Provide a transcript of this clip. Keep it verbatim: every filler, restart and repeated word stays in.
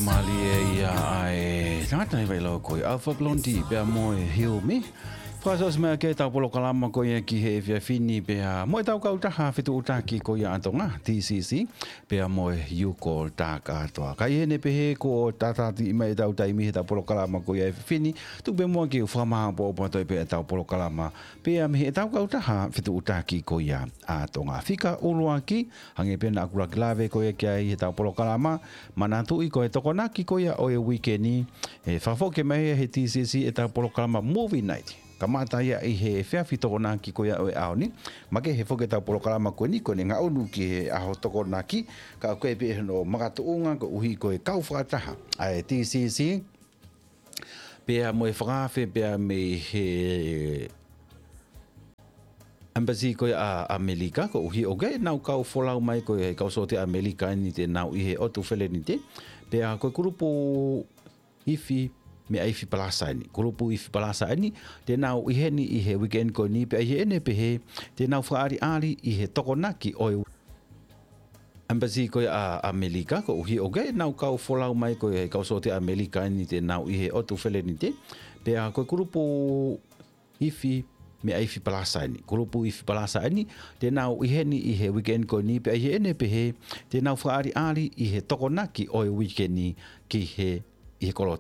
Mālie ia ʻa e tangata ʻi Vailau ko ia Alpha Blondy pea mo e Hilmi. Fakaʻosi mai ʻaki ʻetau polokalama ko ia ki he efiafi ni pea mo ʻetau kautaha fetuʻutaki ko ia ʻa Tonga, T C C, pea mo e U Call Takatoa. Ka ʻi heʻene pehē kuo tātātiʻi mai ʻetau taimi heʻetau polokalama ko ia he efiafi ni, tuku pē muʻa ke u fakamaʻopoʻopo atu pē ʻetau polokalama pea mei heʻetau kautaha fetuʻutaki ko ia ʻa Tonga. Fika ʻuluaki, hangē pē naʻa ku lave ko ia ki ai heʻetau polokalama, manatuʻi ko e Tokonaki ko ia ʻo e uike ni, ʻe fakafoki mai ia he T C C ʻetau polokalama Movie Night. Kamata ia ʻi he efiafi Tokonaki ko ia ʻo e ʻaho ni, makehe foki ʻetau polokalama ko eni ko ʻene ngaʻunu ki he ʻaho Tokonaki, ka ʻoku ʻi ai pē hono makatuʻunga koeʻuhi ko e kau fakataha ʻa e T C C pea mo e fakaafe pea mei he Embassy ko ia ʻa ʻAmelika, koeʻuhi ʻoku ʻi ai ʻenau kau folau mai ko ia he kau sōtia ʻAmelika eni te nau ʻi he ʻotu Felenite, pea ko e kulupu ifi meʻa ifi palasa eni. Kulupu ifi palasa eni, te nau ʻi heni ʻi he weekend ko eni, pea ʻi heʻene pehē, te nau fakaʻaliʻali ʻi he Tokonaki ʻo e Embassy ko ia ʻa ʻAmelika, koeʻuhi ʻoku ʻi ai ʻenau kau folau mai ko ia he kau sōtia ʻAmelika eni te nau ʻi he ʻotu Felenite, pea ko e kulupu ifi meʻa ifi palasa eni. Kulupu ifi palasa eni, te nau ʻi heni ʻi he weekend ko eni, pea ʻi heʻene pehē, te nau fakaʻaliʻali ʻi he Tokonaki ʻo e weekend ni ki he, ʻi he kolo